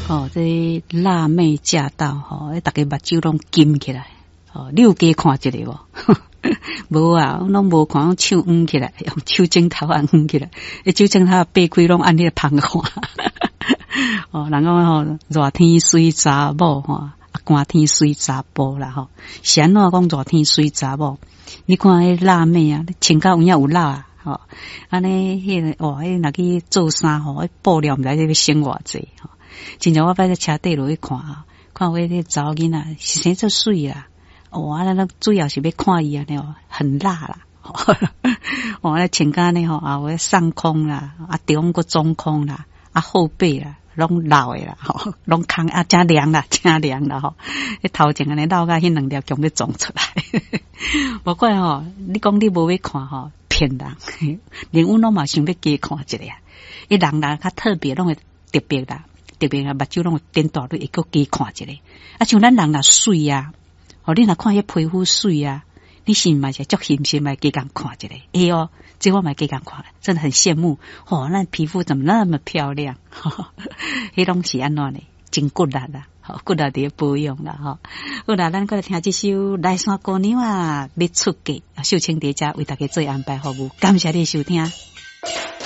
哦，這辣妹駕到吼，逐家目睭攏金起來。哦，你有加看一下無？無啊，我攏無看，手掩起來，用手指頭仔掩起來，彼手指頭擘開攏按彼個芳看。哦，人講吼，熱天媠查某吼，啊，寒天媠查埔啦吼。是按怎講熱天媠查某？你看彼辣妹啊，穿甲有影有辣啊，吼，按呢，彼個哇，彼若去做衫吼，彼布料毋知欲省偌濟吼。親像我擺佇車底落去看啊，看有彼個查某囡仔是生做媠啦。哇，咱主要是欲看伊按呢哦，很辣啦。哇，咧穿甲按呢吼，啊，有上空啦，啊中閣中空啦，啊後背啦，攏露的啦，吼，攏空啊，誠涼啦，誠涼啦，吼。彼頭前按呢露甲彼兩粒強欲撞出來。無怪吼，你講你無欲看吼，騙人。連阮攏嘛想欲加看一下。彼人若較特別，攏會特別啦，特別啊，目睭攏會瞪大，會閣加看一下。啊，像咱人若媠啊。哦，你若看彼皮膚媠啊，你是嘛是足欣心來加共看一下？會哦，這我嘛加共看，真的很羨慕。哦，咱皮膚怎麼那麼漂亮？彼攏是按怎呢？真骨力啦，骨力佇咧保養啦，吼。好啦，咱閣來聽這首《來山姑娘啊欲出嫁》，秀清佇遮為大家做安排服務，感謝你收聽。